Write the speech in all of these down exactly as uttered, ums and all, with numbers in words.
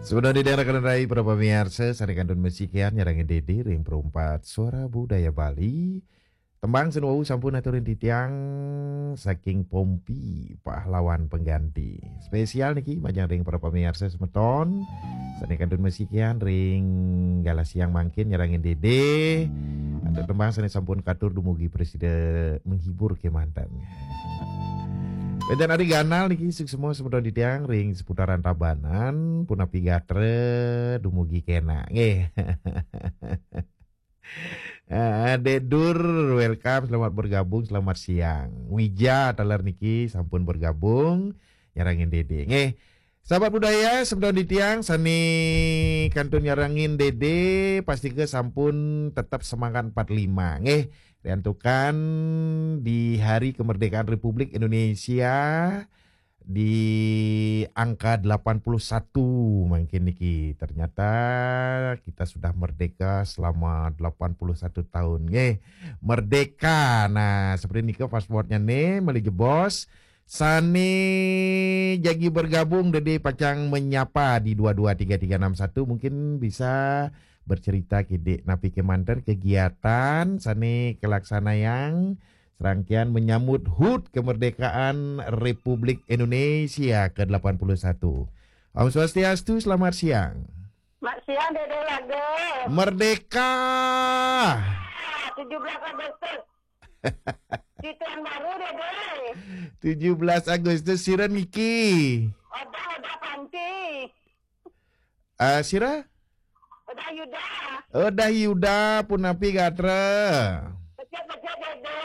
Sebenarnya di daerah Kalirai, para pamiarsa, sané kantun masikian nyarengin Dédé ring Perumpat Suara Budaya Bali. Tembang sing wau sampun aturin titiang saking Pompi, Pahlawan Pengganti. Spesial niki majeng ring para pamiarsa semeton. Sané kantun masikian ring galah siang mangkin nyarengin Dédé. Antuk tembang sané sampun katur dumugi prasida menghibur kémanten. Wénten Ari Ganal niki suksma semeton titiang ring seputaran Tabanan, punapi gatra dumugi kénak. Nggih. Ah, Dék Dur, welcome, selamat bergabung, selamat siang. Wija taler niki sampun bergabung, nyarengin Dédé. Nggih. Sahabat budaya, semeton titiang sané kantun nyarengin Dédé, pastika sampun tetep semangat empat lima. Nggih, riantukan di Hari Kemerdekaan Republik Indonesia di angka delapan puluh satu mangkin niki. Ternyata kita sudah merdeka selama delapan puluh satu tahun. Nggih, merdeka. Nah, seperti niki passwordnya nih, malih jebos. Sané jagi bergabung, Dédé pacang menyapa di dua dua tiga tiga enam satu, mungkin bisa bercerita kidik napi kémanten kegiatan sané kalaksanayang serangkaian menyambut hud kemerdekaan Republik Indonesia ke delapan puluh satu. Om Swastiastu, selamat siang. Mak siang, Dédé Lage. Merdeka. Ah, tujuh belas Agustus. Di tahun baru, Dédé. Tujuh belas Agustus, sira niki? Odah, Odah Panti. Ah, sira? Odah Yuda. Odah Yuda, punapi gatra? Becik-becik, Dédé.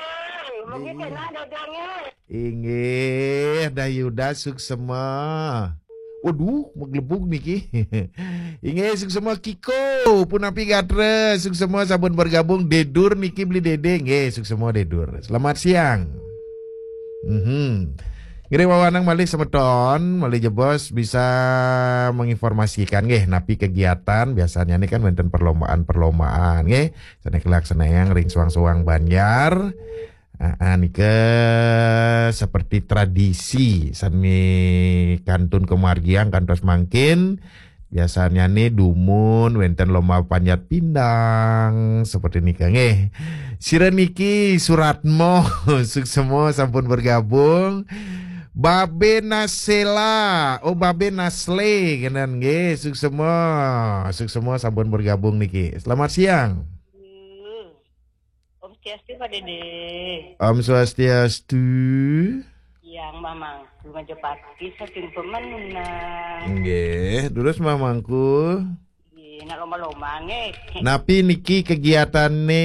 Mugi Iya. Kénak, Dédé, nggih. Inggih, Dah Yuda suksma. Waduh, maglebug niki. Inggih, suksma Kiko, punapi gatra, suksma sampun bergabung, Dék Dur niki beli Dédé, nggih, suksma Dék Dur. Selamat siang. Mhm. Ngiring wewenang malih semeton, malih jebos bisa menginformasikan nggih napi kegiatan, biasanya nih kan wénten perlombaan-perlombaan nggih. Sané kalaksanayang ring suang-suang banjar. Ah, ah, nika seperti tradisi sané kantun kamargiang kantos mangkin. Biasanya nih dumun wénten lomba panjat pindang seperti nika nggih. Sira niki Suratmo, suksma sampun bergabung. Babe Nasela, oh, Babe Nasle kenen nggih, suksma. Suksma sampun bergabung niki. Selamat siang. Hmm. Om Swastiastu, Pak Dédé. Om Swastiastu. Yang Mamangku Majapati saking Pemenang. Nggih, terus Mamangku. Nggih, nak lomba-lomba nggih. Napi niki kegiatane